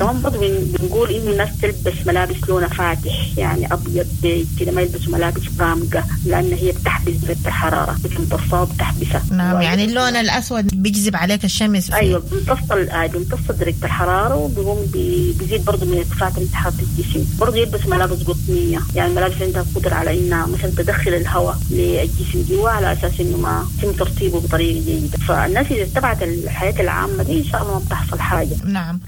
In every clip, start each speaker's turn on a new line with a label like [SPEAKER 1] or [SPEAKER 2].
[SPEAKER 1] كمان برضه بنقول انه الناس تلبس ملابس لونها فاتح، يعني ابيض بيج كده، ما يلبسوا ملابس غامقه لان هي بتحبس درجه الحرارة، بتمتصها وبتحبسها.
[SPEAKER 2] نعم، يعني اللون الاسود بيجذب عليك الشمس.
[SPEAKER 1] ايوه، بيمتص درجه الحرارة، وبيقوم بيزيد برضه من ارتفاع درجه حرارة الجسم. برضه يلبس ملابس قطنيه، يعني ملابس عندها قدره على انها مثلا تدخل الهواء للجسم جوا على اساس انه ما يتم ترطيبه بطريقة جيدة. فالناس اذا اتبعت الحياة العامة دي ان شاء الله ما بتحصل حاجة.
[SPEAKER 2] نعم.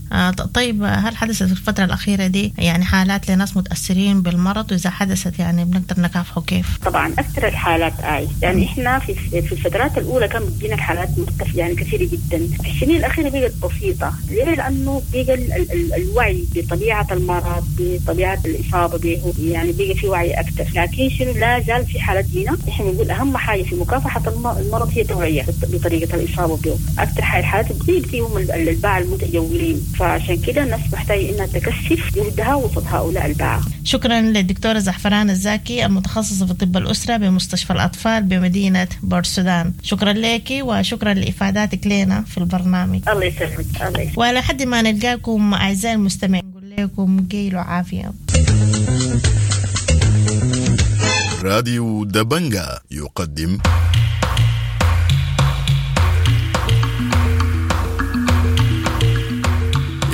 [SPEAKER 2] طيب، هل حدثت في الفترة الاخيرة دي يعني حالات لناس متاثرين بالمرض؟ واذا حدثت يعني بنقدر نكافحه كيف؟
[SPEAKER 1] طبعا اكثر الحالات يعني احنا في الفترات الاولى كان بتجينا الحالات مرتفعة يعني كثيرة جدا. في السنين الاخيرة بقت بسيطة. ليه؟ لانه بقى الوعي بطبيعة المرض، بطبيعة الاصابة به، يعني بقى في وعي اكثر. لكن شنو، لا زال في حالات جينا. احنا بنقول اهم حاجة في مكافحة المرض هي التوعية بطريقة الاصابة به. اكثر حاجة الحالات بتيجي هم الباعة المتجولين، فعشان كده الناس محتاجه انها تكثف جهدها وسط هؤلاء الباعة.
[SPEAKER 2] شكرا للدكتوره زعفران الزاكي المتخصصة في طب الاسرة بمستشفى الاطفال بمدينة بورسودان. شكرا لك وشكرا لافاداتك لنا في البرنامج.
[SPEAKER 1] الله يسلمك. الله يسلمك.
[SPEAKER 2] ولحد ما نلقاكم اعزائي المستمعين نقول لكم قيلوا عافية.
[SPEAKER 3] راديو دبنجا يقدم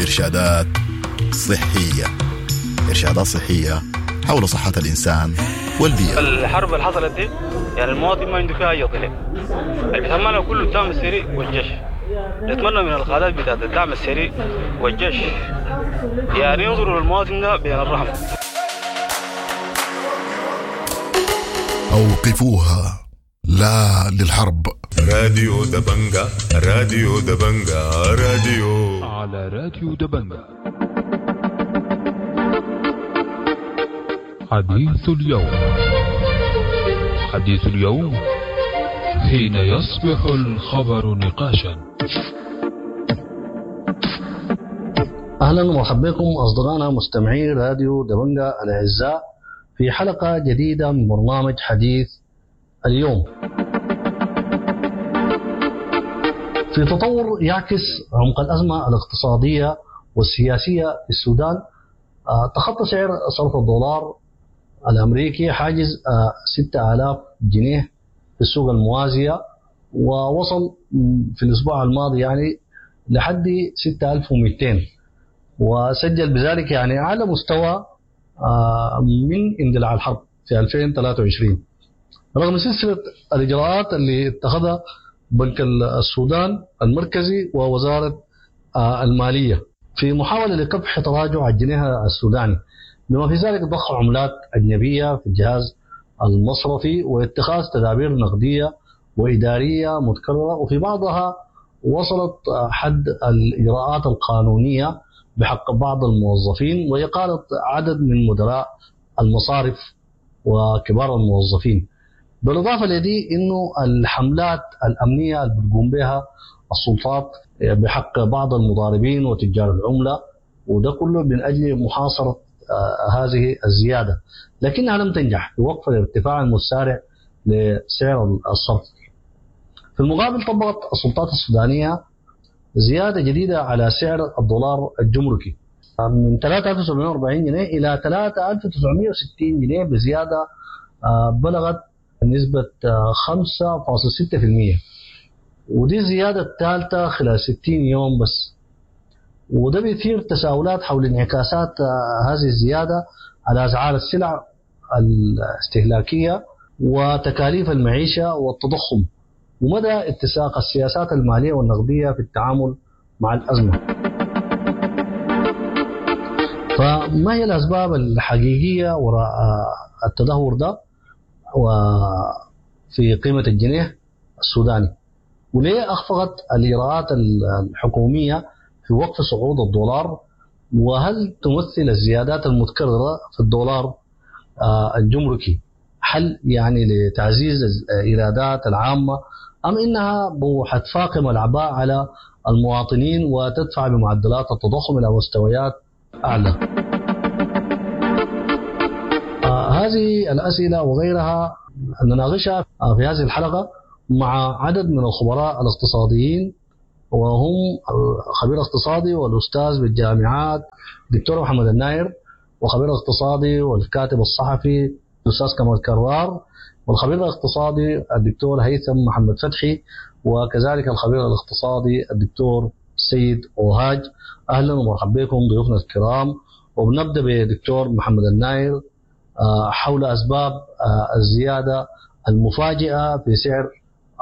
[SPEAKER 3] إرشادات صحية، إرشادات صحية حول صحة الإنسان والبيئة.
[SPEAKER 4] الحرب اللي حصلت دي يعني المواطن ما عنده فيها أي ضلع، اللي بيتهمنا كله الدعم السريع والجيش. نتمنى من القادات بتاعت الدعم السريع والجيش يعني ينظروا للمواطن ده بين الرحمة.
[SPEAKER 3] أوقفوها، لا للحرب.
[SPEAKER 5] راديو دبنجا، راديو دبنجا، راديو
[SPEAKER 6] على راديو دبنجا. حديث اليوم، حديث اليوم حين يصبح الخبر نقاشا.
[SPEAKER 7] أهلا ومرحبا بكم أصدقائنا مستمعي راديو دبنجا الأعزاء في حلقة جديدة من برنامج حديث اليوم. في تطور يعكس عمق الأزمة الاقتصادية والسياسية في السودان، تخطى سعر صرف الدولار الأمريكي حاجز 6000 جنيه في السوق الموازية، ووصل في الأسبوع الماضي يعني لحد 6200، وسجل بذلك يعني أعلى مستوى من اندلاع الحرب في 2023، رغم سلسلة الإجراءات اللي اتخذها بنك السودان المركزي ووزارة المالية في محاولة لكبح تراجع الجنيه السوداني، بما في ذلك ضخ عملات أجنبية في الجهاز المصرفي واتخاذ تدابير نقدية وإدارية متكررة، وفي بعضها وصلت حد الإجراءات القانونية بحق بعض الموظفين وإقالة عدد من مدراء المصارف وكبار الموظفين. بالإضافة لدي إنه الحملات الأمنية اللي بتقوم بها السلطات بحق بعض المضاربين وتجار العملة، وده كله من أجل محاصرة هذه الزيادة، لكنها لم تنجح في وقف الارتفاع المسارع لسعر الصرف. في المقابل طبقت السلطات السودانية زيادة جديدة على سعر الدولار الجمركي من 3740 جنيه إلى 3960 جنيه، بزيادة بلغت نسبة 5.6%، ودي الزيادة الثالثة خلال 60 يوم بس. وده بيثير تساؤلات حول انعكاسات هذه الزيادة على أسعار السلع الاستهلاكية وتكاليف المعيشة والتضخم، ومدى اتساق السياسات المالية والنقدية في التعامل مع الأزمة. فما هي الأسباب الحقيقية وراء التدهور ده وفي قيمة الجنيه السوداني؟ وليه أخفقت الإجراءات الحكومية في وقف صعود الدولار؟ وهل تمثل الزيادات المتكررة في الدولار الجمركي حل يعني لتعزيز الإيرادات العامة، أم إنها حتفاقم الأعباء على المواطنين وتدفع بمعدلات التضخم إلى مستويات أعلى؟ هذه الأسئلة وغيرها نناقشها في هذه الحلقة مع عدد من الخبراء الاقتصاديين وهم خبير اقتصادي والأستاذ بالجامعات دكتور محمد الناير، وخبير اقتصادي والكاتب الصحفي الأستاذ كمال كرار، والخبير الاقتصادي الدكتور هيثم محمد فتحي، وكذلك الخبير الاقتصادي الدكتور سيد أوهاج. أهلا ومرحبا بكم ضيوفنا الكرام. وبنبدأ بدكتور محمد الناير حول أسباب الزيادة المفاجئة في سعر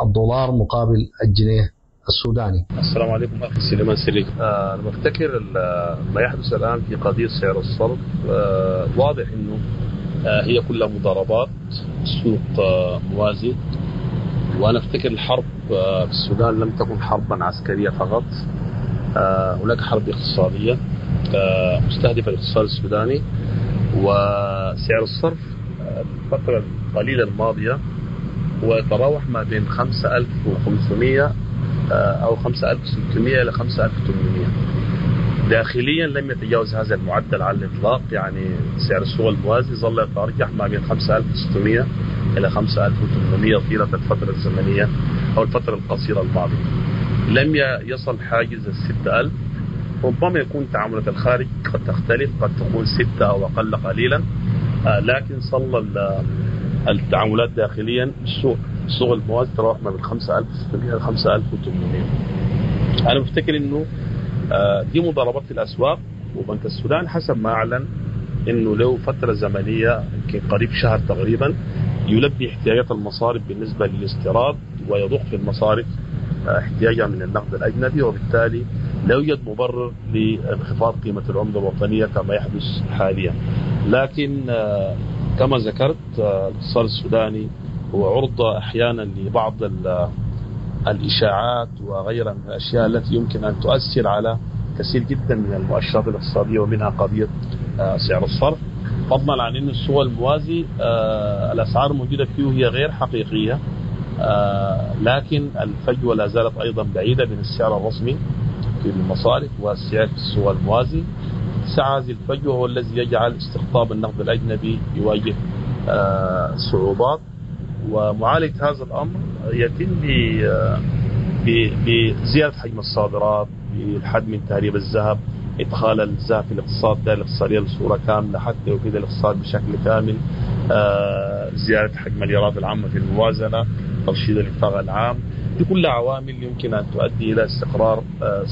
[SPEAKER 7] الدولار مقابل الجنيه السوداني.
[SPEAKER 8] السلام عليكم أخي سليمان سليك. أنا بفتكر ما يحدث الآن في قضية سعر الصرف واضح أنه هي كلها مضاربات سوق موازي. وأنا أفتكر الحرب في السودان لم تكن حربا عسكرية فقط، هناك حرب اقتصادية مستهدفة الاقتصاد السوداني. وسعر الصرف الفترة القليلة الماضية هو يتراوح ما بين 5500 أو 5600 إلى 5800. داخليا لم يتجاوز هذا المعدل على الإطلاق، يعني سعر السوق الموازي ظل يتأرجح ما بين 5600 إلى 5800 طيلة الفترة الزمنية أو الفترة القصيرة الماضية. لم يصل حاجز 6000. ربما يكون تعاملات الخارج قد تختلف، قد تكون 6 أو أقل قليلا، لكن صل التعاملات داخليا السوق الموازي تراوح ما بين 5600 إلى 5800. أنا بفتكر إنه دي مضاربات في الأسواق، وبنك السودان حسب ما أعلن إنه له فترة زمنية يمكن قريب شهر تقريبا يلبي احتياجات المصارف بالنسبة للاستيراد ويضخ في المصارف احتياجها من النقد الأجنبي، وبالتالي لا يوجد مبرر لانخفاض قيمة العملة الوطنية كما يحدث حاليا. لكن كما ذكرت الاقتصاد السوداني هو عرضة أحيانا لبعض الإشاعات وغيرها من الأشياء التي يمكن أن تؤثر على كثير جدا من المؤشرات الاقتصادية، ومنها قضية سعر الصرف. فضلا عن أن السوق الموازي الأسعار الموجودة فيه هي غير حقيقية، لكن الفجوة لا زالت أيضا بعيدة بين السعر الرسمي في المصارف والسعر في السوق الموازي. سعى هذه الفجوة هو الذي يجعل استقطاب النقد الأجنبي يواجه صعوبات. ومعالجة هذا الأمر يتم بزيادة حجم الصادرات، بالحد من تهريب الذهب، إدخال الذهب في الاقتصاد الدائرة الاقتصادية بصورة كاملة حتى يفيد الاقتصاد بشكل كامل، زيادة حجم الإيرادات العامة في الموازنة، ترشيد الإنفاق العام. دي كلها عوامل يمكن أن تؤدي إلى استقرار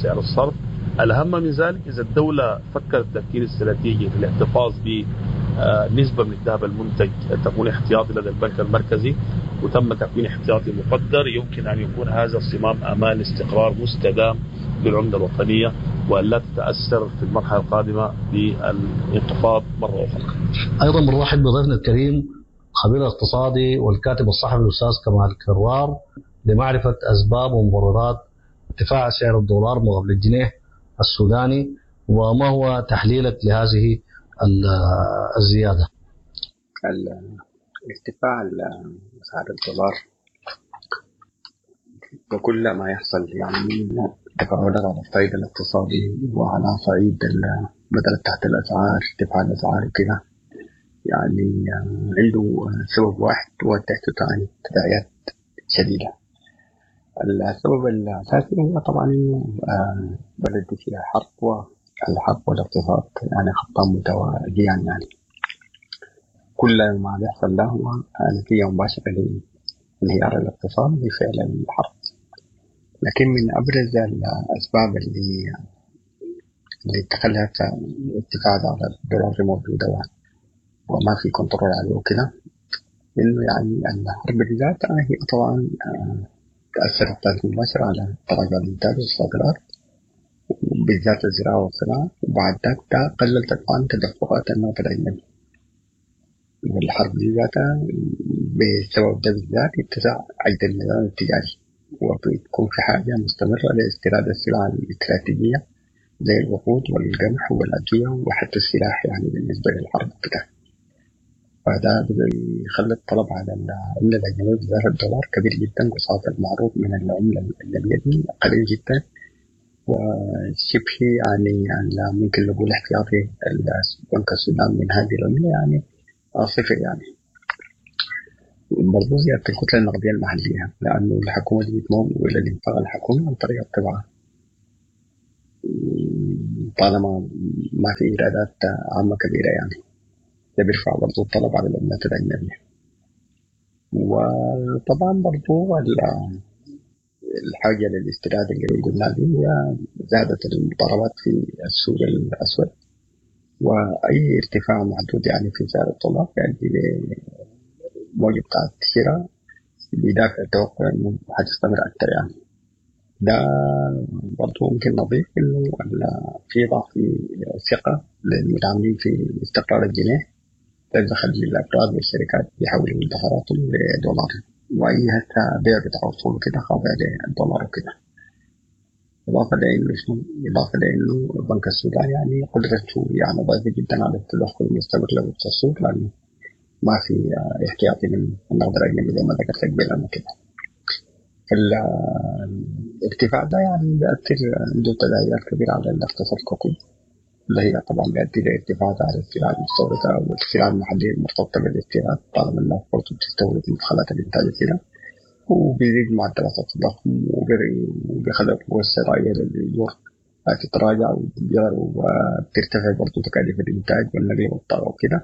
[SPEAKER 8] سعر الصرف. الأهم من ذلك إذا الدولة فكرت تفكير استراتيجي في الاحتفاظ بنسبة من الذهب المنتج تكون احتياطي لدى البنك المركزي، وتم تكوين احتياطي مقدر، يمكن أن يكون هذا الصمام أمان لاستقرار مستدام للعملة الوطنية وأن لا تتأثر في المرحلة القادمة بالانخفاض مرة أخرى.
[SPEAKER 7] أيضا بنرحب بضيفنا الكريم خبير الاقتصادي والكاتب الصحفي الأستاذ كمال كروار لمعرفة أسباب ومبررات ارتفاع سعر الدولار مقابل الجنيه السوداني، وما هو تحليلك لهذه الزيادة؟
[SPEAKER 9] ارتفاع أسعار الدولار وكل ما يحصل يعني من تفاعلات على الصعيد الاقتصادي وعلى صعيد بدل تحت الأسعار، ارتفاع الأسعار وكده، يعني عنده سبب واحد وتحته ثاني تداعيات شديدة. السبب الأساسي هو طبعا إنه بلد فيها حرب، والحرب والاقتصاد يعني خطان متوازيان، يعني كل ما بيحصل له هو نتيجة مباشرة لانهيار الاقتصاد بفعل الحرب. لكن من أبرز الأسباب اللي تخلت ارتفاع الدولار موجودة وما في كنترول عليه وكده، إنه يعني الحرب بذاتها هي طبعا تأثرت بطريقة مباشرة على تراجع الإنتاج والصادرات وبالذات الزراعة والصناعة، وبعد ذاك قللت طبعا تدفقات النقد الأجنبي. والحرب دي ذاتها بسبب ده بالذات اتسع عجز النظام التجاري، وبتكون في حاجة مستمرة لاستيراد السلع الاستراتيجية زي الوقود والقمح والأدوية وحتى السلاح يعني بالنسبة للحرب كده. فده بيخلي الطلب على العملة الأجنبية بالذات الدولار كبير جدا قصاد المعروض من العملة الأجنبية دي قليل جدا، وشبه يعني ممكن نقول احتياطي بنك السودان من هذه العملة يعني صفر. يعني برضو زيادة الكتلة النقدية المحلية، لأنه الحكومة دي بتمول الإنفاق الحكومي عن طريق الطباعة، طالما ما في إيرادات عامة كبيرة يعني ده بيرفع برضو الطلب على العملات الأجنبية. وطبعا برضو الحاجة للاستيراد اللي قلنا دي هي زادت المضاربات في السوق الأسود، وأي ارتفاع محدود يعني في سعر الدولار يؤدي لموجة بتاعت الشراء بدافع التوقع إنه حتستمر أكثر يعني. ده برضو ممكن نضيف إنه في ضعف الثقة للمتعاملين في استقرار الجنيه، ده بيخلي الأفراد والشركات يحولوا مدخراتهم لدولار، وأي هسه بيع بتاع أصول وكده خاضع للدولار وكده. إضافة لإنه شنو؟ إضافة لإنه بنك السودان يعني قدرته يعني ضعيفة جدا على التدخل المستمر له السوق، لأنه ما في احتياطي من النقد الأجنبي زي ما ذكرت قبل أنا كده. الارتفاع ده يعني بيأثر عنده تداعيات كبيرة على الاقتصاد ككل، اللي هي طبعا بيؤدي لارتفاع سعر السلع المستوردة والسلع المحلية المرتبطة بالاستيراد، طالما الناس برضه بتستورد مدخلات الإنتاج كده، وبيزيد معدلات التضخم وبيخلي القوة الشرائية للأجور تتراجع وبترتفع برضه تكاليف الإنتاج والنقل والطاقة وكده.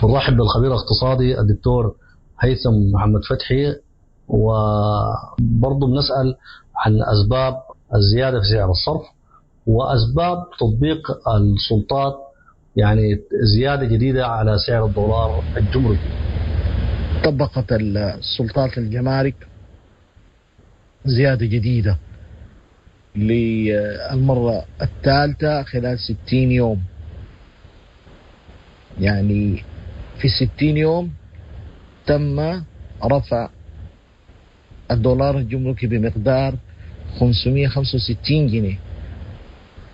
[SPEAKER 7] نرحب بالخبير الاقتصادي الدكتور هيثم محمد فتحي، وبرضه بنسأل عن أسباب الزيادة في سعر الصرف وأسباب تطبيق السلطات يعني زيادة جديدة على سعر الدولار الجمركي.
[SPEAKER 10] طبقت السلطات الجمارك زيادة جديدة للمرة الثالثة خلال 60 يوم. يعني في 60 يوم تم رفع الدولار الجمركي بمقدار 565 جنيه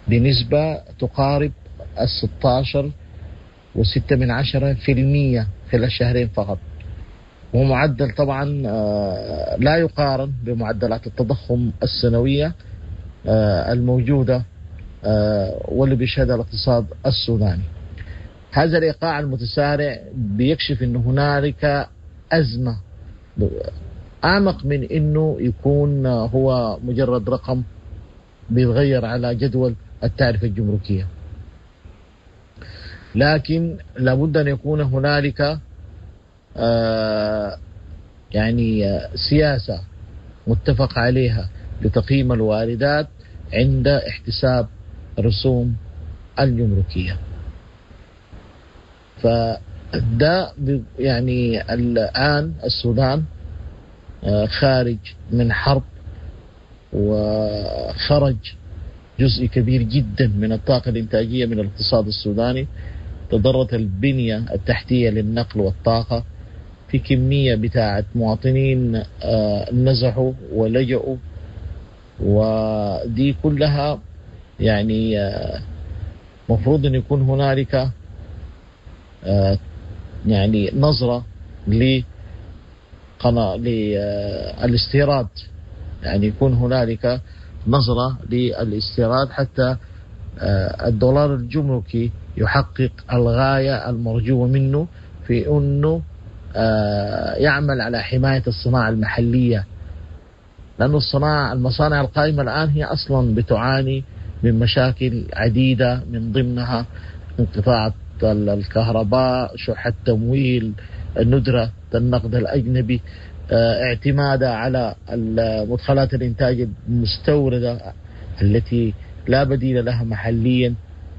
[SPEAKER 10] بنسبة تقارب 16.6% خلال شهرين فقط، ومعدل طبعا لا يقارن بمعدلات التضخم السنوية الموجودة واللي بيشهدها الاقتصاد السوداني. هذا الإيقاع المتسارع بيكشف أن هنالك أزمة أعمق من أنه يكون هو مجرد رقم بيتغير على جدول التعرفة الجمركية، لكن لابد أن يكون هنالك يعني سياسة متفق عليها لتقييم الواردات عند احتساب الرسوم الجمركية. فده يعني الآن السودان خارج من حرب، وخرج جزء كبير جدا من الطاقة الإنتاجية من الاقتصاد السوداني، تضرت البنية التحتية للنقل والطاقة، في كمية بتاعة مواطنين نزحوا ولجؤوا، ودي كلها يعني مفروض أن يكون هنالك يعني نظرة للاستيراد، يعني يكون هنالك نظرة للاستيراد حتى الدولار الجمركي يحقق الغاية المرجوة منه في أنه يعمل على حماية الصناعة المحلية، لأن المصانع القائمة الآن هي أصلا بتعاني من مشاكل عديدة، من ضمنها انقطاع الكهرباء، شح التمويل، الندرة النقد الأجنبي، اعتمادها على مدخلات الإنتاج المستوردة التي لا بديل لها محليا.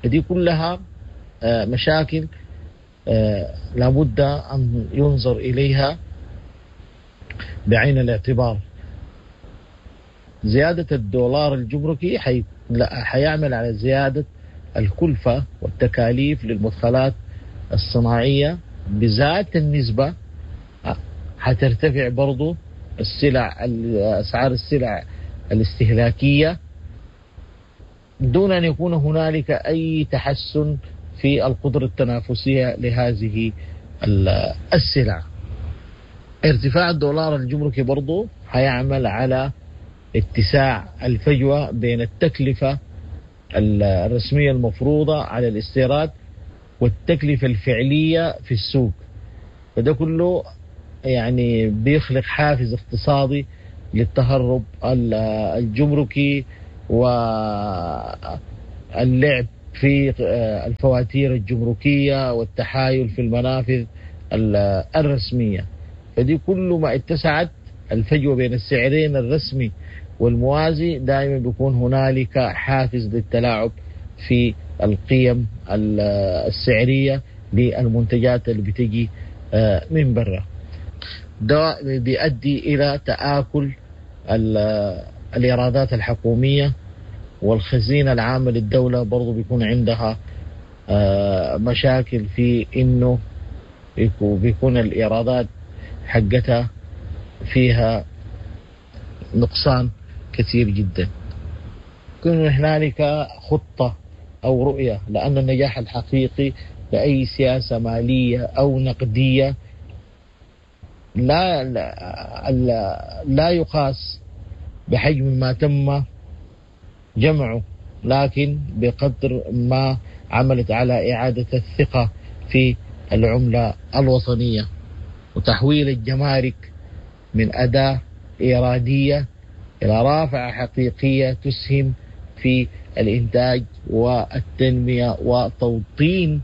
[SPEAKER 10] هذه كلها مشاكل لابد أن ينظر إليها بعين الاعتبار. زيادة الدولار الجمركي حيعمل على زيادة الكلفة والتكاليف للمدخلات الصناعية بذات النسبة، حترتفع برضو السلع، أسعار السلع الاستهلاكية، دون أن يكون هنالك أي تحسن في القدرة التنافسية لهذه السلع. ارتفاع الدولار الجمركي برضو هيعمل على اتساع الفجوة بين التكلفة الرسمية المفروضة على الاستيراد والتكلفة الفعلية في السوق، فده كله يعني بيخلق حافز اقتصادي للتهرب الجمركي واللعب في الفواتير الجمركية والتحايل في المنافذ الرسمية. فدي كل ما اتسعت الفجوة بين السعرين الرسمي والموازي دائما بيكون هنالك حافز للتلاعب في القيم السعرية للمنتجات اللي بتجي من برا. ده بيؤدي إلى تآكل الإيرادات الحكومية، والخزينة العامة للدولة برضو بيكون عندها مشاكل في إنه بيكون الإيرادات حقتها فيها نقصان كثير جدا. يكون هنالك خطة أو رؤية، لأن النجاح الحقيقي لأي سياسة مالية أو نقدية لا, لا, لا يقاس بحجم ما تم جمعه، لكن بقدر ما عملت على إعادة الثقة في العملة الوطنية وتحويل الجمارك من أداة إيرادية إلى رافعة حقيقية تسهم في الإنتاج والتنمية وتوطين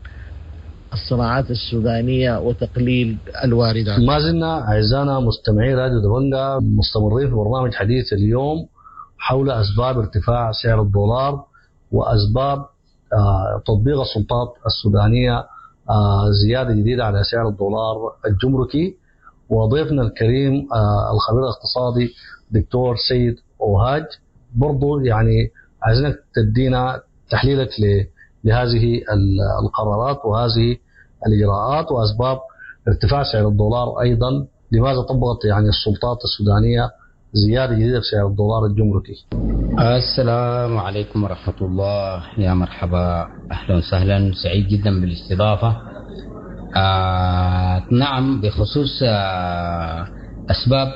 [SPEAKER 10] الصناعات السودانية وتقليل الواردات.
[SPEAKER 7] ما زلنا أعزائنا مستمعي راديو دبنجا مستمرين في برنامج حديث اليوم حول أسباب ارتفاع سعر الدولار وأسباب تطبيق السلطات السودانية زيادة جديدة على سعر الدولار الجمركي. وضيفنا الكريم الخبير الاقتصادي دكتور سيد أوهاج، برضو يعني عايزينك تدينا تحليلك لهذه القرارات وهذه الإجراءات وأسباب ارتفاع سعر الدولار أيضا. لماذا طبقت يعني السلطات السودانية زيادة جديدة في سعر الدولار الجمركي؟
[SPEAKER 11] السلام عليكم ورحمة الله، يا مرحبا، أهلا وسهلا، سعيد جدا بالاستضافة. نعم، بخصوص أسباب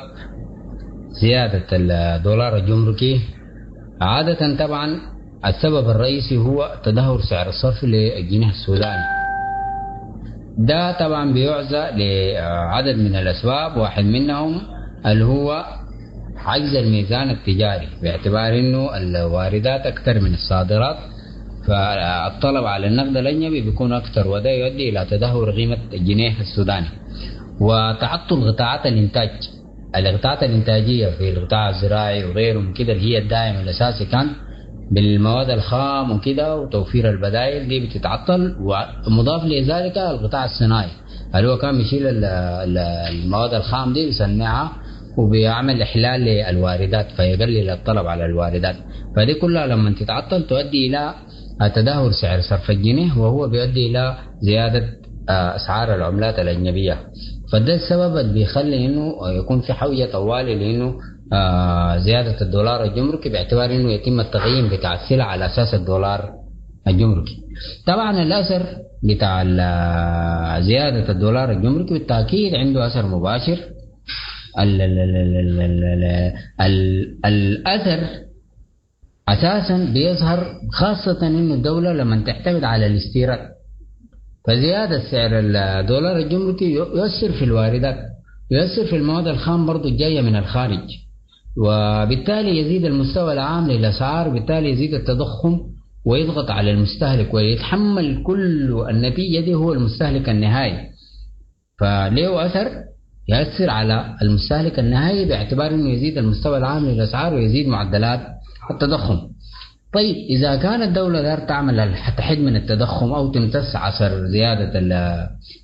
[SPEAKER 11] زيادة الدولار الجمركي، عادة طبعا السبب الرئيسي هو تدهور سعر الصرف للجنيه السوداني. ده طبعا بيعزى لعدد من الأسباب، واحد منهم اللي هو عجز الميزان التجاري، باعتبار انه الواردات اكثر من الصادرات، فالطلب على النقد الاجنبي بيكون اكثر، وده يؤدي الى تدهور قيمة الجنيه السوداني. وتعطل قطاعات الانتاج، القطاعات الانتاجية في القطاع الزراعي وغيره من كده، اللي هي الداعم الاساسي كان بالمواد الخام وكده وتوفير البدائل، دي بتتعطل. ومضاف لذلك القطاع الصناعي اللي هو كان بيشيل المواد الخام دي بيصنعها وبيعمل إحلال للواردات، فيقلل الطلب على الواردات. فدي كلها لما تتعطل تؤدي إلى تدهور سعر صرف الجنيه، وهو بيؤدي إلى زيادة أسعار العملات الأجنبية. فده السبب اللي بيخلي إنه يكون في حوجة طوالي لإنه زيادة الدولار الجمركي، باعتبار إنه يتم التقييم بتاع السلع على أساس الدولار الجمركي. طبعا الأثر بتاع زيادة الدولار الجمركي بالتأكيد عنده أثر مباشر. ال ال ال ال ال الأثر أساسا بيظهر خاصة إنه الدولة لما تعتمد على الاستيراد، فزيادة سعر الدولار الجمركي يؤثر في الواردات، يؤثر في المواد الخام برضو الجاية من الخارج، وبالتالي يزيد المستوى العام للأسعار، وبالتالي يزيد التضخم ويضغط على المستهلك، ويتحمل كل النتيجة دي هو المستهلك النهائي. فليه أثر؟ يأثر على المستهلك النهائي باعتبار أنه يزيد المستوى العام للأسعار ويزيد معدلات التضخم. طيب إذا كانت الدولة دار تعمل تحد من التضخم أو تمتص عصر زيادة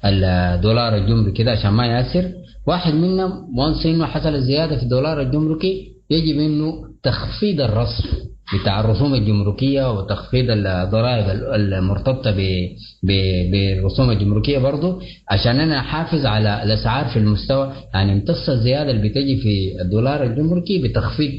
[SPEAKER 11] الدولار الجمركي كده عشان ما يأثر، واحد منهم وانس إنه حصل الزيادة في الدولار الجمركي يجب إنه تخفيض الرصف بتاع الرسوم الجمركية وتخفيض الضرائب المرتبطة بالرسوم الجمركية برضو، عشان أنا أحافظ على الأسعار في المستوى، يعني امتص الزيادة اللي بتجي في الدولار الجمركي بتخفيض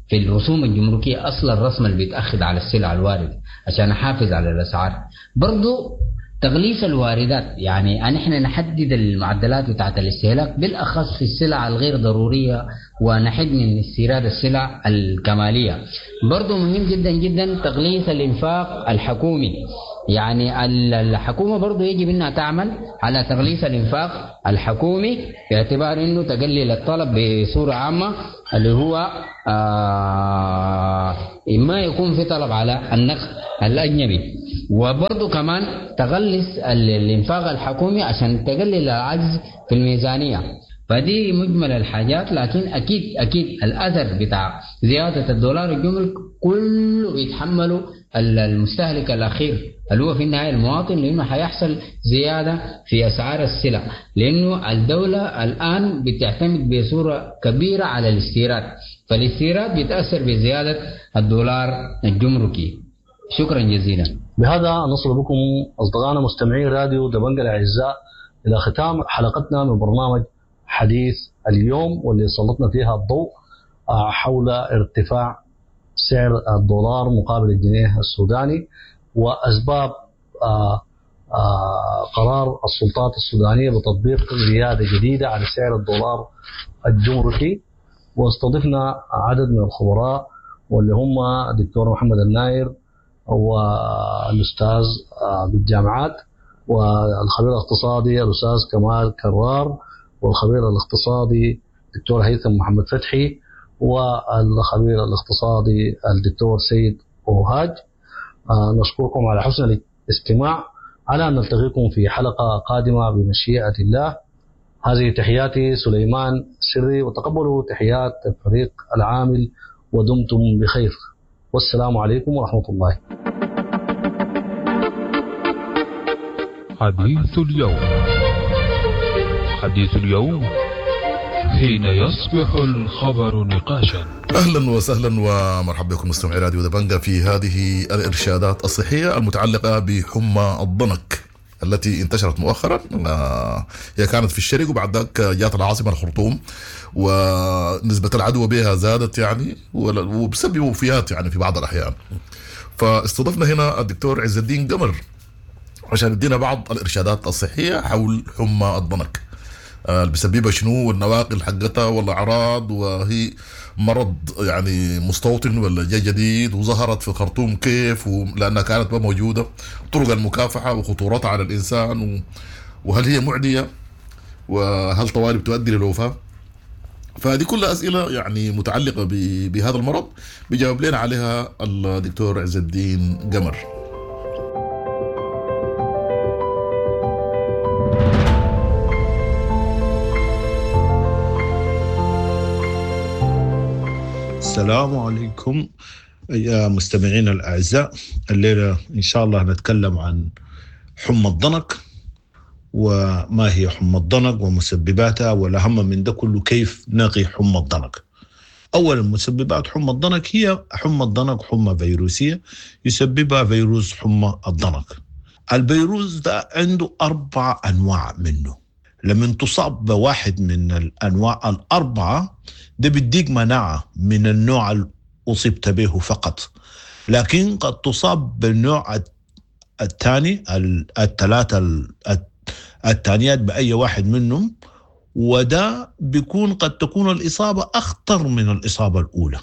[SPEAKER 11] في الرسوم الجمركية، أصل الرسم اللي بيتأخذ على السلع الواردة عشان أحافظ على الأسعار. برضو تغليف الواردات، يعني نحن نحدد المعدلات بتاعت الاستهلاك بالأخص في السلع الغير ضرورية، ونحد من استيراد السلع الكمالية. برضو مهم جدا جدا تغليف الإنفاق الحكومي، يعني الحكومة برضو يجب أنها تعمل على تغليس الإنفاق الحكومي باعتبار أنه تقلل الطلب بصورة عامة، اللي هو ما يكون في طلب على النقد الأجنبي، وبرضو كمان تغلس الإنفاق الحكومي عشان تقلل العجز في الميزانية. فدي مجمل الحاجات. لكن أكيد أكيد الأثر بتاع زيادة الدولار الجمرك كله بيتحمله المستهلك الأخير اللي هو في النهاية المواطن، لأنه حيحصل زيادة في أسعار السلع، لأنه الدولة الآن بتعتمد بصورة كبيرة على الاستيراد، فالاستيراد بيتأثر بزيادة الدولار الجمركي. شكرا جزيلا.
[SPEAKER 7] بهذا نصل بكم أصدقائنا مستمعي راديو دبنجة الأعزاء إلى ختام حلقتنا من برنامج حديث اليوم، واللي سلطنا فيها الضوء حول ارتفاع سعر الدولار مقابل الجنيه السوداني وأسباب قرار السلطات السودانية بتطبيق زيادة جديدة على سعر الدولار الجمركي. واستضفنا عدد من الخبراء واللي هم الدكتور محمد الناير والأستاذ بالجامعات، والخبير الاقتصادي الأستاذ كمال كرار، والخبير الاقتصادي الدكتور هيثم محمد فتحي، والخبير الاقتصادي الدكتور سيد أوهاج. نشكركم على حسن الاستماع، على أن نلتقيكم في حلقة قادمة بمشيئة الله. هذه تحياتي سليمان سري، وتقبلوا تحيات الفريق العامل، ودمتم بخير، والسلام عليكم ورحمة الله.
[SPEAKER 6] حديث اليوم، حديث اليوم حين يصبح الخبر نقاشا.
[SPEAKER 3] اهلا وسهلا ومرحبا بكم مستمعي راديو دبنجا في هذه الارشادات الصحية المتعلقة بحمى الضنك التي انتشرت مؤخرا. هي كانت في الشرق وبعد ذاك جات العاصمة الخرطوم، ونسبه العدوى بها زادت يعني وبسبب وفيات يعني في بعض الاحيان. فاستضفنا هنا الدكتور عز الدين قمر عشان يدينا بعض الارشادات الصحية حول حمى الضنك، اللي بيسببها شنو، والنواقل حقتها والاعراض، وهي مرض يعني مستوطن ولا جاي جديد، وظهرت في الخرطوم كيف لانها كانت ما موجودة، طرق المكافحه وخطورتها على الانسان، وهل هي معدية، وهل طوالي بتؤدي للوفاه. فهذه كلها اسئلة يعني متعلقه بهذا المرض بيجاوب لنا عليها الدكتور عز الدين قمر.
[SPEAKER 12] السلام عليكم يا مستمعين الأعزاء. الليلة إن شاء الله نتكلم عن حمى الضنك، وما هي حمى الضنك ومسبباتها، والأهم من ده كله كيف نقي حمى الضنك. أولا، مسببات حمى الضنك هي حمى الضنك حمى فيروسية يسببها فيروس حمى الضنك. الفيروس ده عنده 4 أنواع منه، لما تصاب بواحد من الأنواع 4 ده بيديك مناعة من النوع اللي أصبت به فقط، لكن قد تصاب بالنوع الثاني، الثلاثة الثانيات بأي واحد منهم، وده بيكون قد تكون الإصابة أخطر من الإصابة الأولى.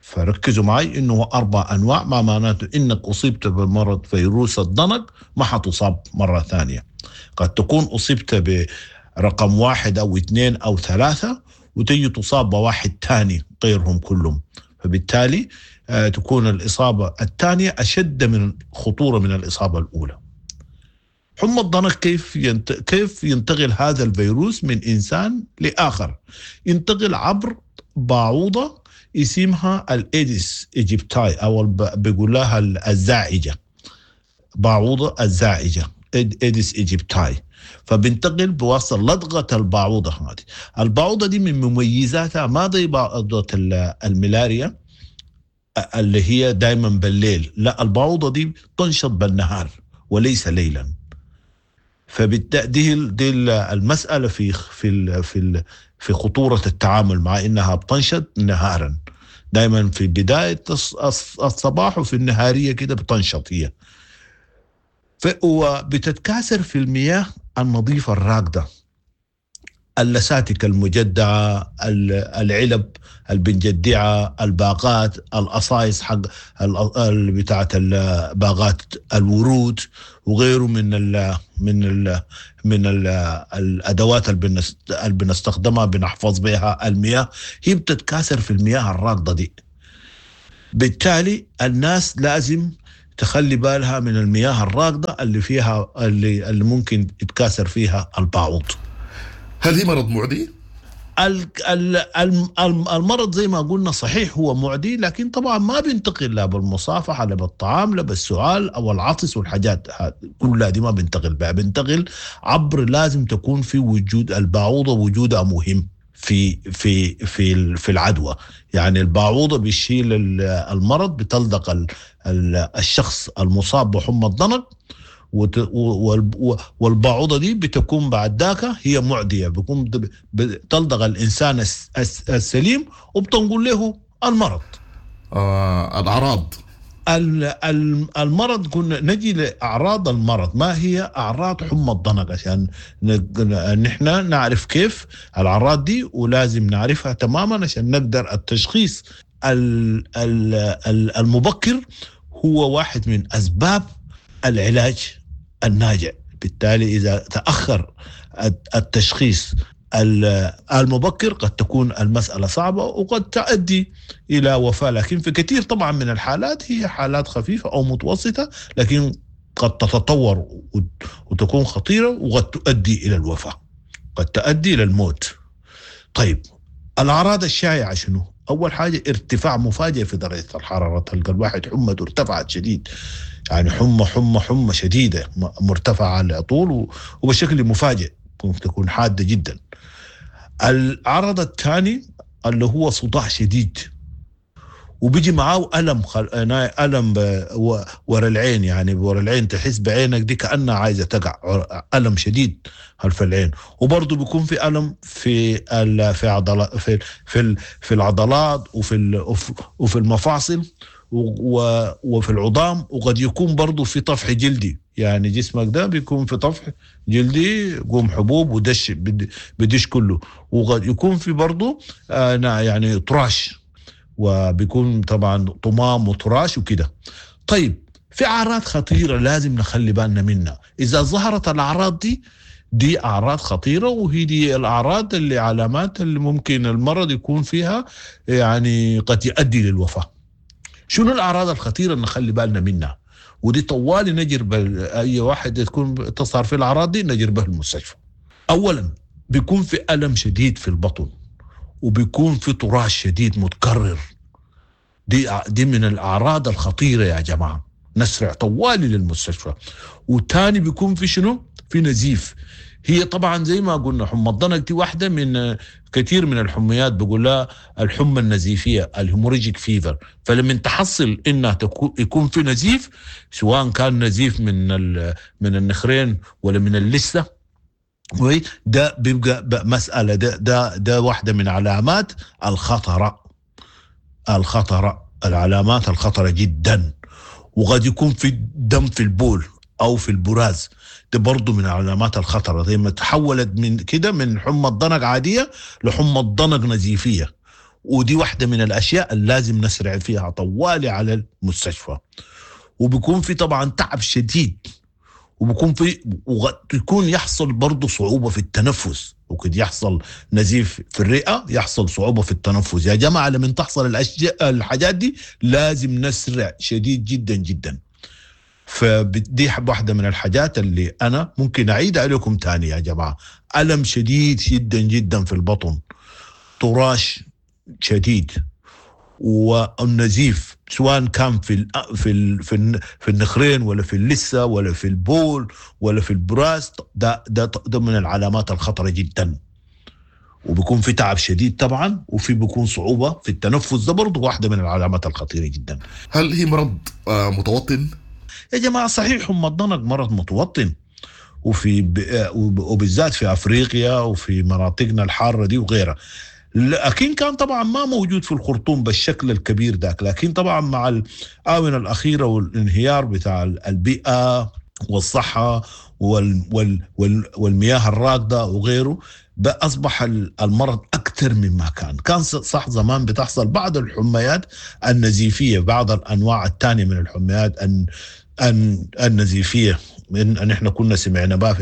[SPEAKER 12] فركزوا معي إنه 4 أنواع، ما معناته إنك أصبت بمرض فيروس الضنك ما حتصاب مرة ثانية. قد تكون أصبت برقم 1 أو 2 أو 3 وتجي تصاب بواحد ثاني غيرهم كلهم، فبالتالي تكون الإصابة الثانية أشد من خطورة من الإصابة الأولى. حمى الضنك كيف ينتقل هذا الفيروس من إنسان لآخر؟ ينتقل عبر باعوضة اسمها ال Aedes aegypti، أو بيقول لها الزاعجة، باعوضة الزاعجة Aedes aegypti. فبنتقل بواسطة لدغة الباعوضة هذه. الباعوضة دي من مميزاتها ما زي باعوضة الملاريا اللي هي دايما بالليل، لا، الباعوضة دي تنشط بالنهار وليس ليلا. فبالتالي دي المسألة في في في في خطورة التعامل مع إنها بتنشط نهارا، دايما في بداية الصباح وفي النهارية كده بتنشط هي. وبتتكاثر في المياه النظيفة الراكدة. اللساتك المجدعة، العلب البنجدعة، الباقات، القصايص حق بتاعة باغات الورود وغيره من ال من ال من ال الادوات اللي بنستخدمها بنحفظ بها المياه، هي بتتكاثر في المياه الراكضة دي. بالتالي الناس لازم تخلي بالها من المياه الراكضة اللي فيها اللي ممكن يتكاثر فيها الباعوض.
[SPEAKER 3] هل هي مرض معدي؟
[SPEAKER 12] المرض زي ما قلنا صحيح هو معدي، لكن طبعا ما بينتقل لا بالمصافحة لا بالطعام لا بالسعال أو العطس والحاجات كلها دي ما بينتقل بها، بينتقل عبر لازم تكون في وجود الباعوضة، وجودها مهم في في في في العدوى. يعني الباعوضة بيشيل المرض، بتلدق الشخص المصاب بحمى الضنك، والباعوضة دي بتكون بعد ذاك هي معدية، بيكون بتلدغ الإنسان السليم وبتنقل له المرض.
[SPEAKER 3] الأعراض
[SPEAKER 12] المرض، كنا نجي لأعراض المرض. ما هي أعراض حمى الضنك عشان نحن نعرف كيف الأعراض دي، ولازم نعرفها تماما عشان نقدر التشخيص المبكر هو واحد من أسباب العلاج الناجع. بالتالي إذا تأخر التشخيص المبكر قد تكون المسألة صعبة وقد تؤدي إلى وفاة، لكن في كثير طبعا من الحالات هي حالات خفيفة أو متوسطة، لكن قد تتطور وتكون خطيرة وقد تؤدي إلى الوفاة، قد تؤدي إلى الموت. طيب الأعراض الشائعة شنو؟ أول حاجة ارتفاع مفاجئ في درجة الحرارة، تلقى الواحد حمته ارتفعت شديد، يعني حمى حمى حمى شديدة مرتفعة على طول وبشكل مفاجئ، ممكن تكون حادة جدا. العرض الثاني اللي هو صداع شديد، وبيجي معاه ألم ألم ورا العين، يعني ورا العين تحس بعينك دي كأنها عايزة تقع، ألم شديد خلف العين. وبرضه بيكون في ألم في في عضلات في في في العضلات وفي المفاصل وفي العظام، وقد يكون برضه في طفح جلدي، يعني جسمك ده بيكون في طفح جلدي، قوم حبوب ودش بدش كله، وقد يكون في برضه يعني طراش، وبيكون طبعا طمام وطراش وكده. طيب في أعراض خطيرة لازم نخلي بالنا منها، إذا ظهرت الأعراض دي أعراض خطيرة، وهي دي الأعراض اللي علامات اللي ممكن المرض يكون فيها يعني قد يؤدي للوفاة. شنو الأعراض الخطيرة اللي نخلي بالنا منها؟ ودي طوالي نجرب أي واحد تكون تظهر في الأعراض دي نجربه المستشفى. أولا بيكون في ألم شديد في البطن، وبيكون في طراش شديد متكرر، دي من الأعراض الخطيرة يا جماعة، نسرع طوالي للمستشفى. وتاني بيكون في شنو؟ في نزيف. هي طبعا زي ما قلنا حمى الضنك دي واحدة من كثير من الحميات، بقول لها الحمى النزيفية ال hemorrhagic fever. فلما تحصل انها يكون في نزيف، سواء كان نزيف من النخرين ولا من اللثة، ده بيبقى مسألة، ده واحدة من علامات الخطرة، العلامات الخطرة جدا. وقد يكون في دم في البول أو في البراز، ده برضو من علامات الخطرة. زي ما تحولت من كده من حمى الضنك عادية لحمى الضنك نزيفية، ودي واحدة من الأشياء اللي لازم نسرع فيها طوالي على المستشفى. وبيكون في طبعا تعب شديد، وبيكون في ويكون يحصل برضه صعوبة في التنفس، وقد يحصل نزيف في الرئة، يحصل صعوبة في التنفس. يا جماعة لما تحصل الحاجات دي لازم نسرع شديد جدا جدا. فدي واحدة من الحاجات اللي أنا ممكن أعيد عليكم تاني يا جماعة: ألم شديد جدا جدا في البطن، طراش شديد، والنزيف سواء كان في في في في النخرين ولا في اللثة ولا في البول ولا في البراز، ده من العلامات الخطرة جدا. وبيكون في تعب شديد طبعا، وفي بيكون صعوبة في التنفس، ده برضه واحدة من العلامات الخطيرة جدا.
[SPEAKER 3] هل هي مرض متوطن؟
[SPEAKER 12] يا جماعة صحيح حمى الضنك مرض متوطن، وفي وبالذات في افريقيا وفي مناطقنا الحارة دي وغيرها، لكن كان طبعا ما موجود في الخرطوم بالشكل الكبير ذاك. لكن طبعا مع الآونة الأخيرة والانهيار بتاع البيئة والصحة والمياه الراكدة وغيره، أصبح المرض أكثر مما كان صح زمان بتحصل بعض الحميات النزيفية، بعض الأنواع الثانية من الحميات النزيفية إن احنا كنا سمعنا بها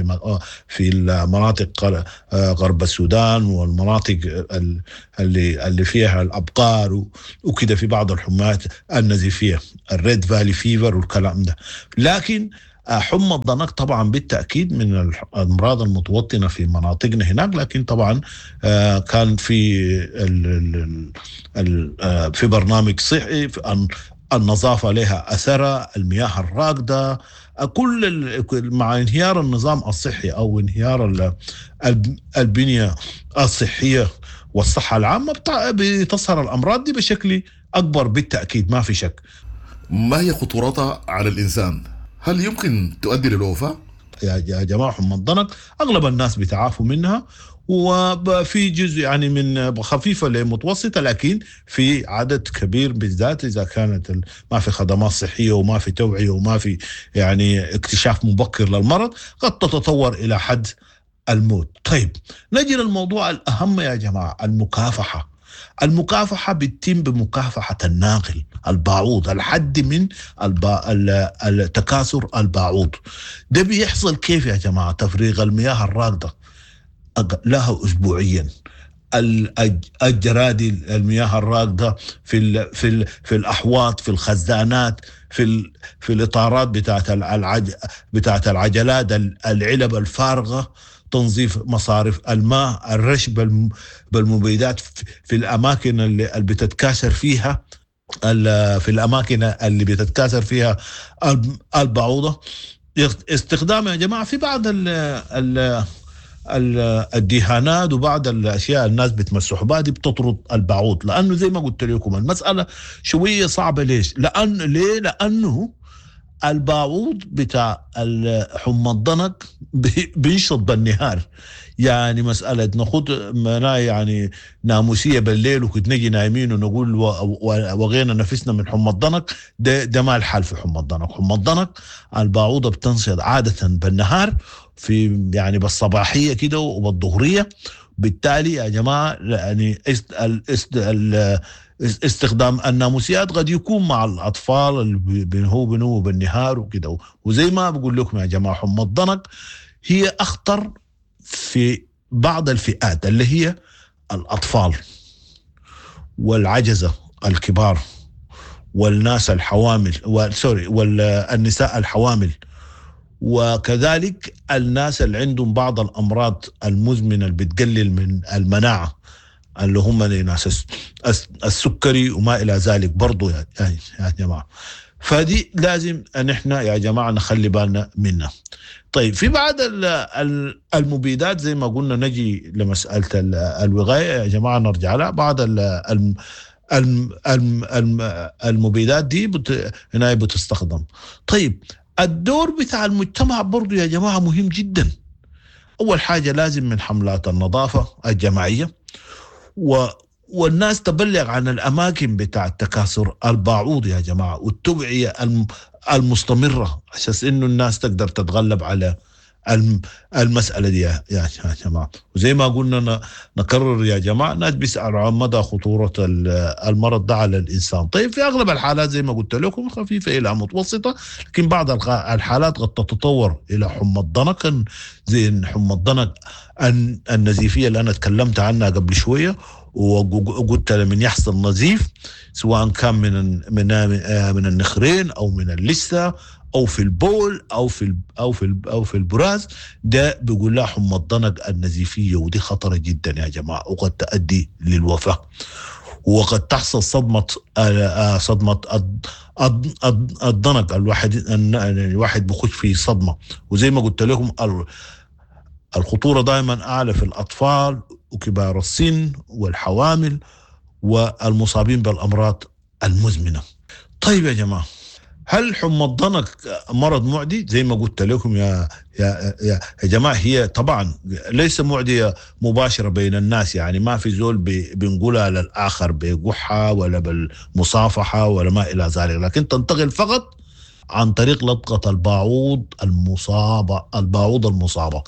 [SPEAKER 12] في المناطق غرب السودان والمناطق اللي فيها الأبقار وكده، في بعض الحميات النزيفية ال Red Valley fever والكلام ده. لكن حمى الضنك طبعا بالتأكيد من الأمراض المتوطنة في مناطقنا هناك، لكن طبعا كان في في برنامج صحي، النظافة لها أثرها، المياه الراكدة، كل مع انهيار النظام الصحي أو انهيار البنية الصحية والصحة العامة بتظهر الأمراض دي بشكل أكبر بالتأكيد، ما في شك.
[SPEAKER 3] ما هي خطورتها على الإنسان؟ هل يمكن تؤدي للوفاة؟
[SPEAKER 12] يا جماعة حمى الضنك أغلب الناس بيتعافوا منها، وفي جزء يعني من خفيفة لمتوسطة، لكن في عدد كبير بالذات إذا كانت ما في خدمات صحية وما في توعية وما في يعني اكتشاف مبكر للمرض، قد تتطور إلى حد الموت. طيب نجي للموضوع الأهم يا جماعة، المكافحة. المكافحة بتتم بمكافحة الناقل البعوض، الحد من التكاثر البعوض. ده بيحصل كيف يا جماعة؟ تفريغ المياه الراكدة لها أسبوعيا، الجرادي المياه الراكدة في في في الأحواض، في الخزانات، في في الإطارات بتاعت العجلات، العلب الفارغة، تنظيف مصارف الماء، الرش بالمبيدات في الأماكن اللي بتتكاثر فيها، في الأماكن اللي بتتكاثر فيها البعوضة. استخدام يا جماعة في بعض الدهانات وبعض الأشياء الناس بتمسحوا بها دي بتطرد البعوض، لأنه زي ما قلت لكم المسألة شوية صعبة. ليش؟ ليه؟ لأنه البعوض بتاع حمى الضنك بينشط بالنهار، يعني مسألة ناخد يعني ناموسية بالليل وكنت نجي نايمين ونقول وغينا نفسنا من حمى الضنك، ده ما الحال في حمى الضنك. حمى الضنك البعوضة بتنشط عادة بالنهار، في يعني بالصباحية كده وبالظهرية. بالتالي يا جماعة يعني استخدام الناموسيات قد يكون مع الأطفال اللي بنهو بالنهار وكده. وزي ما بقول لكم يا جماعة حمى الضنك هي أخطر في بعض الفئات اللي هي الأطفال والعجزة الكبار والناس الحوامل والنساء الحوامل، وكذلك الناس اللي عندهم بعض الأمراض المزمنة اللي بتقلل من المناعة اللي هم ناس السكري وما إلى ذلك برضو يا جماعة. فدي لازم أن احنا يا جماعة نخلي بالنا منها. طيب في بعض المبيدات زي ما قلنا، نجي لمسألة الوقاية يا جماعة نرجع لها. بعض المبيدات دي هنا بتستخدم. طيب الدور بتاع المجتمع برضو يا جماعة مهم جدا. أول حاجة لازم من حملات النظافة الجماعية، والناس تبلغ عن الأماكن بتاع التكاثر البعوض يا جماعة، والتوعية المستمرة عشان إنه الناس تقدر تتغلب على المسألة دي يا جماعة. وزي ما قلنا نكرر يا جماعة، الناس بيسألوا عن مدى خطورة المرض ده على الإنسان. طيب في أغلب الحالات زي ما قلت لكم خفيفة إلى متوسطة، لكن بعض الحالات قد تتطور إلى حمى الضنك، زي حمى الضنك النزيفية اللي أنا تكلمت عنها قبل شوية، وقلت لمن يحصل نزيف سواء كان من من من النخرين أو من اللثة او في البول او في او في او في البراز، ده بيقول لها حمى الضنك النزيفيه، ودي خطره جدا يا جماعه، وقد تؤدي للوفاه، وقد تحصل صدمه الضنك. الواحد بخش في صدمه، وزي ما قلت لكم الخطوره دائما اعلى في الاطفال وكبار السن والحوامل والمصابين بالامراض المزمنه. طيب يا جماعه، هل حمى الضنك مرض معدي؟ زي ما قلت لكم يا يا يا جماعه، هي طبعا ليس معديه مباشره بين الناس، يعني ما في زول بنقولها للاخر بقحه ولا بالمصافحه ولا ما الى ذلك، لكن تنتقل فقط عن طريق لدغة الباعوض المصابة. الباعوض المصابة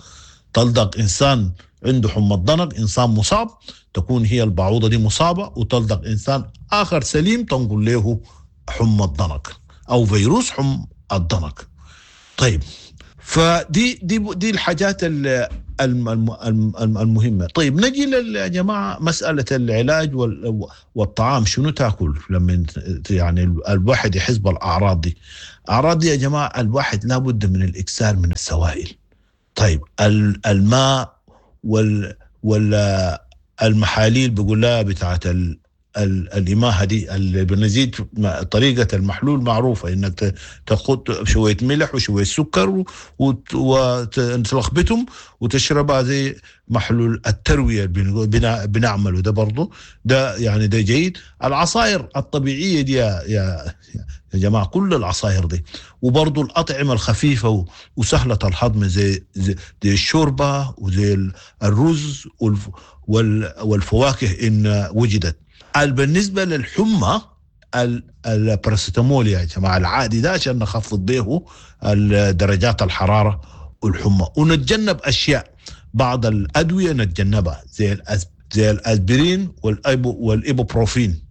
[SPEAKER 12] تلدغ إنسان عنده حمى الضنك، إنسان مصاب، تكون هي البعوضة دي مصابة، وتلدغ إنسان آخر سليم تنقل له حمى الضنك أو فيروس حمى الضنك. طيب فدي دي دي الحاجات المهمة. طيب نجي يا جماعة مسألة العلاج والطعام، شنو تاكل لما يعني الواحد يحس بالأعراض دي؟ أعراض دي يا جماعة الواحد لابد من الإكثار من السوائل. طيب الماء والمحاليل بيقول لها بتاعت الإماهة دي اللي بنزيد، طريقة المحلول معروفة، إنك تاخد شوية ملح وشوية سكر وتلخبطهم وتشربها زي محلول التروية بنعمله ده برضو، ده يعني ده جيد. العصائر الطبيعية دي يا يا يا جماعة، كل العصائر دي، وبرضو الأطعمة الخفيفة وسهلة الهضم زي الشوربة وزي الرز والفواكه إن وجدت. بالنسبة للحمى الباراسيتامول يا جماعة العادي ده عشان نخفض به درجات الحرارة والحمى، ونتجنب أشياء، بعض الأدوية نتجنبها زي الأسبرين والإيبوبروفين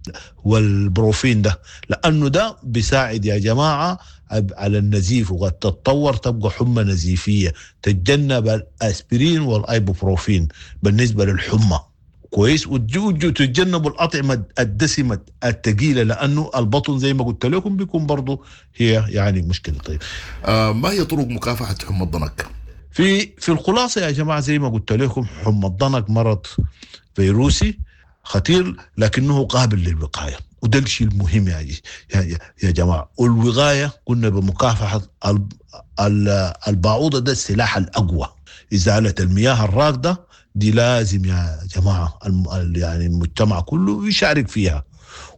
[SPEAKER 12] والبروفين ده، لأنه ده بيساعد يا جماعة على النزيف، وقد تتطور تبقى حمى نزيفية. تتجنب الأسبرين والإيبوبروفين بالنسبة للحمى، كويس. وتتجنبوا الأطعمة الدسمة الثقيلة، لأنه البطن زي ما قلت لكم بيكون برضو هي يعني مشكلة. طيب
[SPEAKER 3] ما هي طرق مكافحة حمى الضنك؟
[SPEAKER 12] في الخلاصة يا جماعة زي ما قلت لكم، حمى الضنك مرض فيروسي خطير لكنه قابل للوقاية، وده الشيء المهم يا جماعة. والوقاية قلنا بمكافحة البعوضة، ده السلاح الأقوى. إزالة المياه الراكدة دي لازم يا جماعة يعني المجتمع كله يشارك فيها،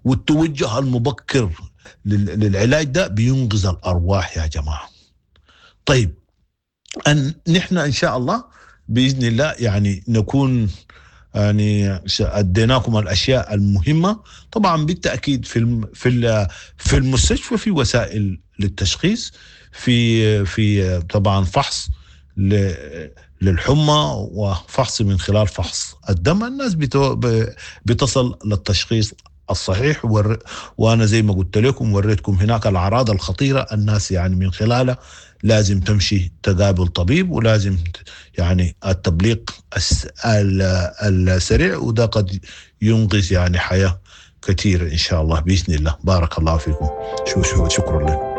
[SPEAKER 12] والتوجه المبكر للعلاج ده بينقذ الأرواح يا جماعة. طيب أن نحن إن شاء الله بإذن الله يعني نكون يعني أديناكم الأشياء المهمة. طبعا بالتأكيد في في المستشفى في وسائل للتشخيص، في طبعا فحص للحمى وفحص من خلال فحص الدم، الناس بتصل للتشخيص الصحيح. وأنا زي ما قلت لكم وريتكم هناك الأعراض الخطيرة، الناس يعني من خلالها لازم تمشي تقابل طبيب، ولازم يعني التبليغ السريع، وده قد ينقذ يعني حياة كثيرة إن شاء الله بإذن الله. بارك الله فيكم، شكرا لكم.